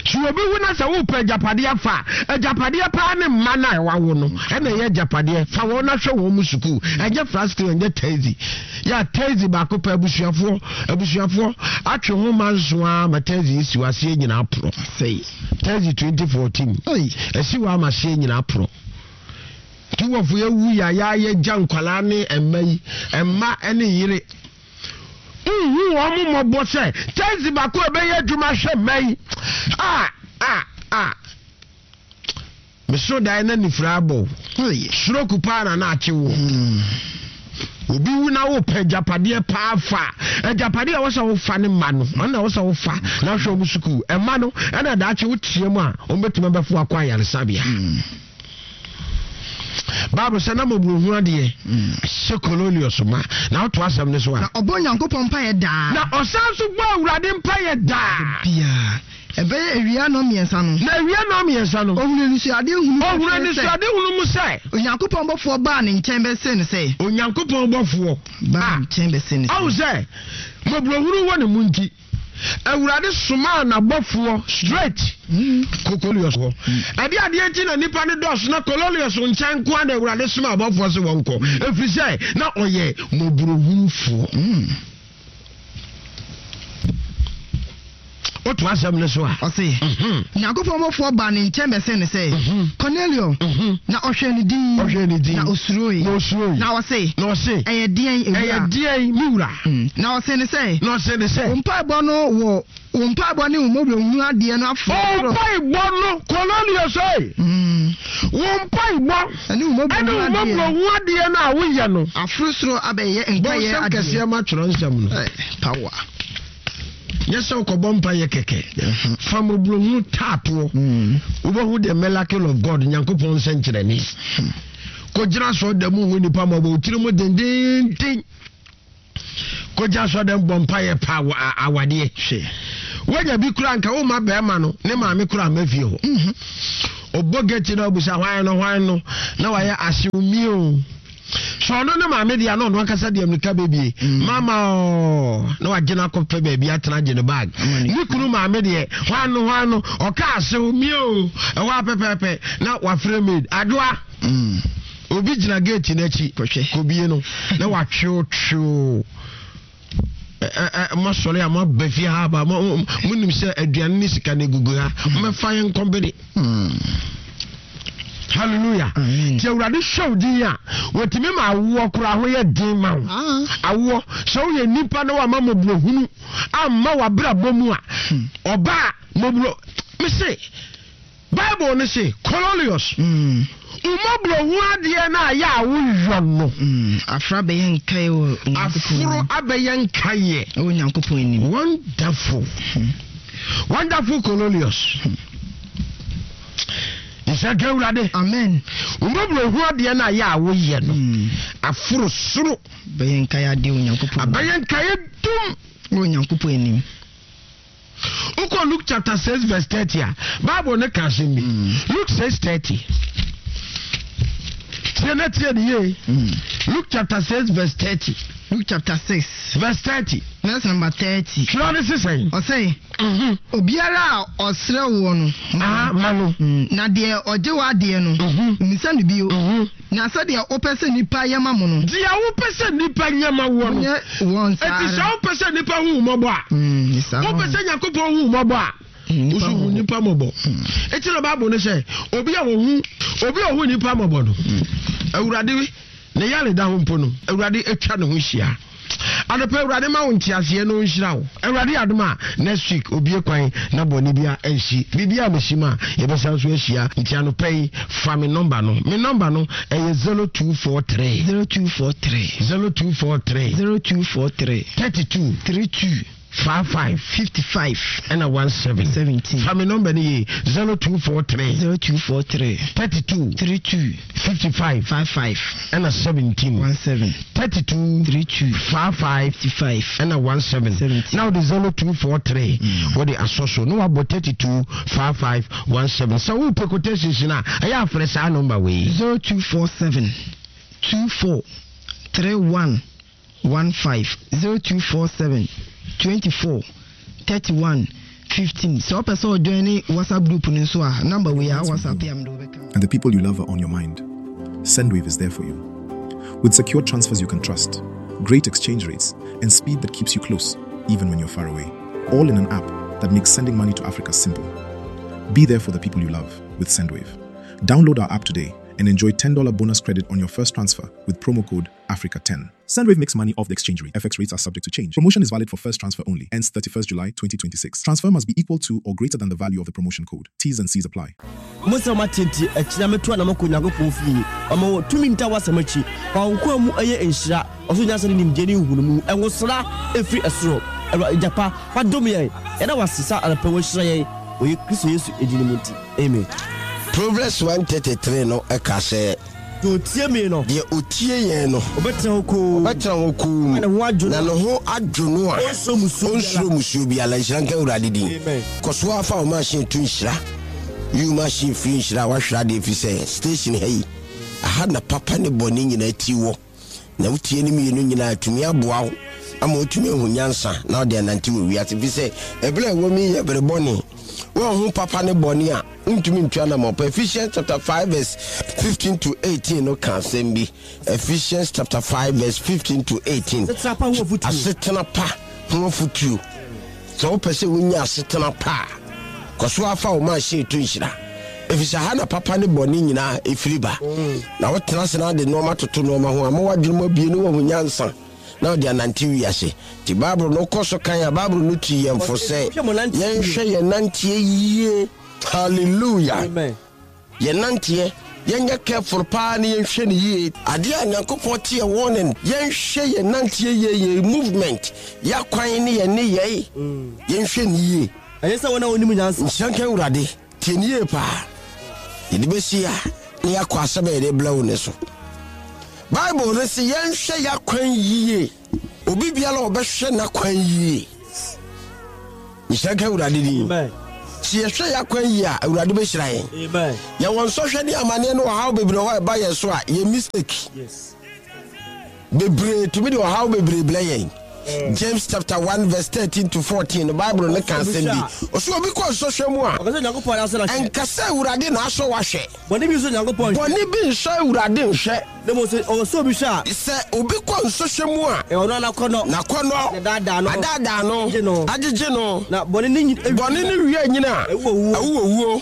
Sɛ obi wu na sɛ wopɛ agyapadeɛ fa a, agyapadeɛ paa ne mma no a ɛwawo no ɛna ɛyɛ agyapadeɛ. Fa wɔn na hwɛ wɔn mu sukuu. Ɛnyɛ flat screen, ɛnyɛ T V. Yɛ T V baako pɛ, abusuafoɔ abusuafoɔ atwe ho ma nso a ma T V esi wɔ aseɛ nyinaa porɔ. Sɛyi. T V twenty fourteen Oi. ɛsi wɔ ama aseɛ nyinaa porɔ. Nti wɔfo yɛwu yɛ a yɛayɛ gya nkwalaa ne mma yi, mma ne yere nhu wɔn mo mmɔbɔ sɛ T V baako a ɛbɛyɛ adwuma hwɛ mma yi a a a mesoro dan na nifira abɔ. Oi. Stroke paa na na akye wo. Obi wu na wopɛ agyapadeɛ paa fa, agyapadeɛ a wɔsɛ wofa ne mma no, ɔno na wɔsɛ wofa na wohwɛ ɔmo sukuu. Ɛma no ɛna daakye wotie mu a, ɔmbɛtumi abɛfo akɔ ayaresabea. Bible sɛ na mmɔborɔhu adeɛ hyɛ Cornelius ma. Na woto asɛm no so a, Na ɔbɔ Onyankopɔn mpaeɛ daa. Na ɔsan so bɔ Awurade mpayɛ daa. Biaa. Ɛbɛyɛ awia nnɔn mmiɛnsa no. Na awia nnɔn mmiɛnsa no. Ɔhunu anisoadeɛ hunu ɔhunu pefee sɛ anisoade hunu mu sɛ Onyankopɔn bɔfoɔ baa ne nkyɛn bɛsee no sɛ. Onyankopɔn bɔfoɔ Baa ne nkyɛn bɛsee no sɛ. Ɔhu sɛ mmɔborɔhunu wɔ ne mu nti, Awurade somaa n'abɔfoɔ straight kɔ Cornelius hɔ. Ɛde adeɛ nti na nipa no dɔɔso na Cornelius nkyɛn nko a na Awurade soma abɔfoɔ sɛ wɔnkɔ? Ɛfiri sɛ na ɔyɛ mmɔborɔhunufoɔ. Woto asɛm no so a, Ɔse, Onyankopɔn bɔfoɔ baa ne nkyɛn bɛsee no sɛ, Cornelio, na ɔhwɛ ne din. Ɔhwɛ ne din. Na osuroe. Na osuroe. Na ɔse, na ɔse, ɛyɛ deɛn, ɛyɛ ewura? Deɛn, me wura? Na ɔse ne sɛ, Na ɔse ne sɛ, wo mpaebɔ no wɔ wo mpaebɔ ne wo mmɔborɔhunu adeɛ no aforo. Mpaebɔ no, Cornelius oi. Mm. Wo mpaebɔ Ɛne wo ɛne wo mmɔborɔhunu mmɔborɔhu adeɛ no a woyɛ no. Aforo soro abɛyɛ nkaeɛ Bɔnsɛm adeɛ. kɛseɛ ma twerɛ nsɛm no. Ɛ, power. Nyɛ sɛ wokɔbɔ mpayɛ kɛkɛ. Fa mmɔborɔhunu taatoɔ. Mm. Wobɛhu the miracle of God, Nyankopɔn nsɛnkyerɛnne. Kɔgyina sɔ da mu hu nipa mmɔbɔ, wo tiri mu dendenden. Kɔgyina sɔ dɛm bɔ mpayɛ pa awa- a- awadeɛ. Hwɛ. Woanya bi kora nka woma bɛrima no ne maame kora ama fie hɔ. Ɔbɔ gate na ɔbusa hwan no hwan no na wayɛ ahyew mio. Sɛ ɔno ne maame deɛ na ɔno ankasa deɛ mmirika bɛbie. Mama ɔɔ na wagye no akɔpɛ baabi atena gye ne bag. Ne kunu maame deɛ hwan no hwan no ɔka ahyew mio ɛhɔ apɛpɛɛpɛ na wafrɛ maid adwoa. Mm. Obi gyina gate n'akyi Kɔhwɛ. kɔbie no na watwew mosɔre a moaba fie ha aba mo- mo- monim sɛ aduane ne sika no egugu ha mɛfa yɛn nkɔmbene. Mm. Hallelujah. Amen. Nti Awurade hwɛ wo din a wɔtumi ma awoɔ koraa ho yɛ den ma wo. Ah. Awoɔ sɛ woyɛ nnipa na wama mmɔborɔhunu amma w'abrabɔ mu a ɔbaa mmɔborɔ mese Bible no se Cornelius Mm. mmɔborɔhu adeɛ no a yɛ a woyɔ no Mm. Aforo abɛyɛ nkaeɛ wɔ Onyankopɔn aforo anim. abɛyɛ nkaeɛ. Ɛwɔ Onyankopɔn anim. Wonderful. Wonderful Cornelius. Nhyɛ nka Awurade. Amen. Mmɔborɔhu adeɛ no a yɛ a woyɛ no Mm. aforo soro Bɛyɛ nkaeɛ adeɛ wɔ Onyankopɔn anim. abɛyɛ nkaeɛ dum. Wɔ Onyankopɔn anim. Wokɔ Luke chapter six verse thirty a Bible ne ka asɛm bi. Luke six thirty. Tie na tie ne yie. Mm. Luke chapter six verse thirty. Luke chapter six Verse thirty. verse number thirty. Twerɛ ne sesɛn. Ɔsɛ Mhm. obiara a ɔsrɛ woɔ no Aha ma no. Mm. Na deɛ ɔgye w'adeɛ no Mhm. mmisa no bio. Mhm. Na sɛdeɛ wopɛ sɛ nnipa yɛ ma mo no Deɛ wopɛ sɛ nnipa nyɛ ma woɔ no. nyɛ wɔn saa Eti sɛ ara. wopɛ sɛ nnipa hu wo mmɔbɔ a. Mm, saa Wopɛ ara. sɛ Nyankopɔn hu wo mmɔbɔ a. Mm, Woso hu nnipa nnipa mmɔbɔ. Eti na Bible no sɛ obi a wɔhu obi a ɔhu nnipa mmɔbɔ no Awurade ne yare da ho mpo no Awurade atwa ne ho hyia. Anɔpɛ Awurade ma wo nteaseɛ na ɔnhyira wo. Awurade adom a next week obie kwan na bɔne bia ansi. Biribi a mesi mu a yɛbɛsan so ahyia. Nti anɔpɛ yi fa me nɔmba no. Me nɔmba no ɛyɛ zero two four three. Zero two four three. zero two four three. Zero two four three. thirty two. Three two. five five. Fifty five. Ɛna one seven. Seventeen. Fa me nɔmba no yie zero two four three. Zero two four three. thirty two. Three two. fifty five. Five five. Ɛna seventeen. One seven. thirty two. Three two. five five. Fifty five. Ɛna one seven. Seventeen. Now the zero two four three. Mm. Wɔde asɔ so na wabɔ thirty two five five one seven. Sɛ wo pɛ quotations na ɛyɛ afrɛ saa nɔmba wei. Zero two four seven two four three one one five zero two four seven twenty four thirty one fifteen. So ɔpɛ sɛ ɔjoin ne WhatsApp group no nso a number wei a WhatsApp yɛ a mede wobɛka. And the people you love are on your mind. Sendwave is there for you. With secure transfers you can trust, great exchange rates, and speed that keeps you close, even when you're far away. All in an app that makes sending money to Africa simple. Be there for the people you love with Sendwave. Download our app today and enjoy ten dollar bonus credit on your first transfer with promo code Africa ten. Sendwave makes money off the exchange rate. F X rates are subject to change. Promotion is valid for first transfer only. Ends thirty-first July twenty twenty-six. Transfer must be equal to or greater than the value of the promotion code. T's and C's apply. Musa matinti echina metu na mako Nyankopɔn fie. Ɔma wo tumi nta wasɛm akyi. Fa wo nkoa mu ɛyɛ nhyira. Ɔso nyansa ne nimdeɛ ne nhunumu. Ɛnwosra ɛfiri ɛsoro. Awurade gyapa, fa dom yɛn. Yɛda wo ase sɛ anɔpa woahyira yɛn. Wɔ Kristo Yesu edin mu nti. Amen. Proverbs one thirty-three no ɛka sɛ Deɛ otie me no, deɛ otie yɛn no, ɔbɛtena hɔ komm. Ɔbɛtena hɔ komm. Na ne ho adwo no. Na ne ho adwo no a, Ɔnsuro musuo biara. ɔnsuro musuo biara. Nhyira nka Awurade din. Amen. Kɔ so afa wo machine to nhyira. Yi wo machine firi nhyira a wahwere adeɛ firi sɛ station ha yi, aha na papa ne bɔne nyinaa ti wɔ. Na wotie ne mmienu nyinaa tumi aboa wo ama wotumi ahu nyansa na wode anante wɔ wiase. Firi sɛ ɛberɛ a ɛwɔ mu yi yɛ bere bɔne. Wɔnhu papa ne bɔne a ntumi ntua na mɔpɛ. Ephesians chapter five verse fifteen to eighteen no ka asɛm bi. Ephesians chapter five verse fifteen to eighteen. Asetena pa ho afotuo. Asetena pa ho afotuo. Sɛ wopɛ sɛ wonya asetena pa a, kɔ so afa wo machine to nhyira. Efisɛ ha na papa ne bɔne nyinaa efiri ba. Na wotena ase na ade nneɛma toto nneɛma ho ama w'adwene mu abue ne wahu nyansa. Na ɔde anante wiase. Nti Bible no kɔ so kan a Bible no tu yɛn fo sɛ yɛnhwɛ yɛn nanteɛ yie. Hallelujah. Amen. Yɛnanteɛ, yɛnyɛ careful paa ne yɛnhwɛ ne yie. Adeɛ a Nyankopɔn te yɛ warning, yɛnhwɛ yɛn nanteɛ yie, yɛn movement, yɛakwan ne yɛn nneyɛe, yɛnhwɛ ne yie. Ɛyɛ sɛ wɔn a wɔnim nyansa. Nhyira nka Awurade. Tie ne yie paa. Yɛde bɛsi a ne yɛakɔ asɛm a yɛde brɛ wo ne so. Bible no sɛ yɛnhwɛ yɛakwan yie. Obi biara a ɔbɛhwɛ n'akwan yie, nhyira nka Awurade din. Amen. Sɛ yɛhwɛ yɛakwan yie a, Awurade bɛhyira yɛn. Amen. Yɛwɔ nsɔhwɛ ne amanneɛ ne ɔhaw bebree hɔ a ɛba yɛn so a, yɛ mistake Yes. bebree tumi de ɔhaw bebree blɛ yɛn. James chapter one verse thirteen to fourteen, the Bible ne ka asɛm bi. Ɔsɛ obi kɔ nsɔhwɛ mu a, Ɔka sɛ Onyankopɔn asɔ no ahwɛ. Ɛnka sɛ Awurade na asɔ wahwɛ. Bɔne bi nso Onyankopɔn nhwɛ. Bɔne bi nsɔ Awurade nhwɛ. Na mmom sɛ ɔwɔ sɛ obi hwɛ a, Sɛ obi kɔ nsɔhwɛ mu a, ɛwɔ no anakɔnnɔ. N'akɔnnɔ Ne daadaa no. adaadaa no, Agye no. agyegye no. Na bɔne ne nyin Bɔne ne wie nyina a, Ɛwu owuo. ɛwu owuo.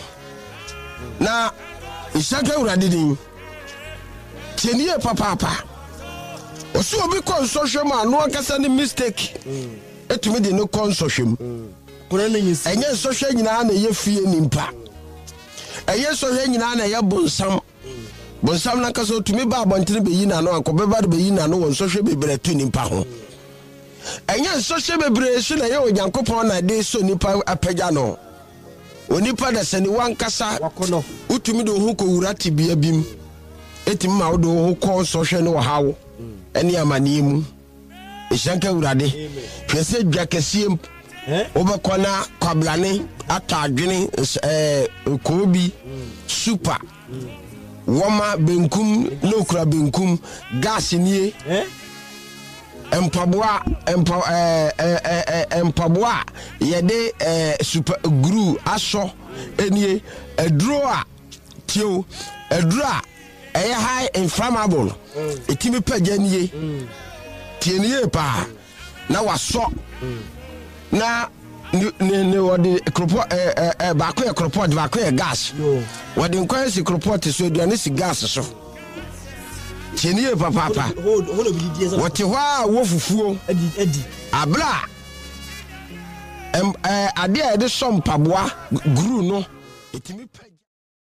Na nhyira nka Awurade din. Tie ne yie papaapa. Ɔsɛ obi kɔ nsɔhwɛ mu a, no ankasa ne mistake ɛtumi de no kɔ nsɔhwɛ mu. Kɔnɔ ne nyinsi. Ɛnyɛ nsɔhwɛ nyinaa na ɛyɛ fie nimpa, ɛyɛ nsɔhwɛ nyinaa na ɛyɛ bonsam. Bonsam nankasa otumi ba abɔntene bɛyi n'ano ankɔ bɛba de bɛyi n'ano wɔ nsɔhwɛ bebree to nipa ho. Ɛnyɛ nsɔhwɛ bebree so na ɛyɛ Onyankopɔn na ɛde sɔ nipa apagya no. Onipa da sɛ ne wankasa Wakɔnɔ. Wotumi de wo ho kɔwura tebea bi mu, ɛtumi ma wode wo ho kɔ nsɔhwɛ ne ɔhaw ɛne amanneɛ mu. Ɛhyira nka Awurade. Hwɛ sɛ dwa kɛseɛ mu Eh? wobɛkɔ na kwablane atɔ adwene ns- ɛɛ, koobi super wɔma benkum na okura benkum gas nie. Eh? Mpaboa mpa ɛɛ ɛɛ ɛɛ mpaboa a yɛde ɛɛ super glue asɔ nie. Aduro a tio, aduro a ɛyɛ high inflammable, ɛtumi pɛgya nie. Tie ne yie paa. Na wasɔ na ne ne ne wɔde koropɔ ɛɛ ɛɛ ɛɛ baako yɛ koropɔt, baako yɛ gas. Yo. Wɔde nkwan si koropɔt so, aduane si gas so. Tie ne yie papaapa. Hold hold obi didi ɛsɛ. Wɔte hɔ a wɔ fufuo. Adi adi. Abere a ɛm ɛɛ adeɛ a yɛde sɔ mpaboa glue no ɛtumi pɛ.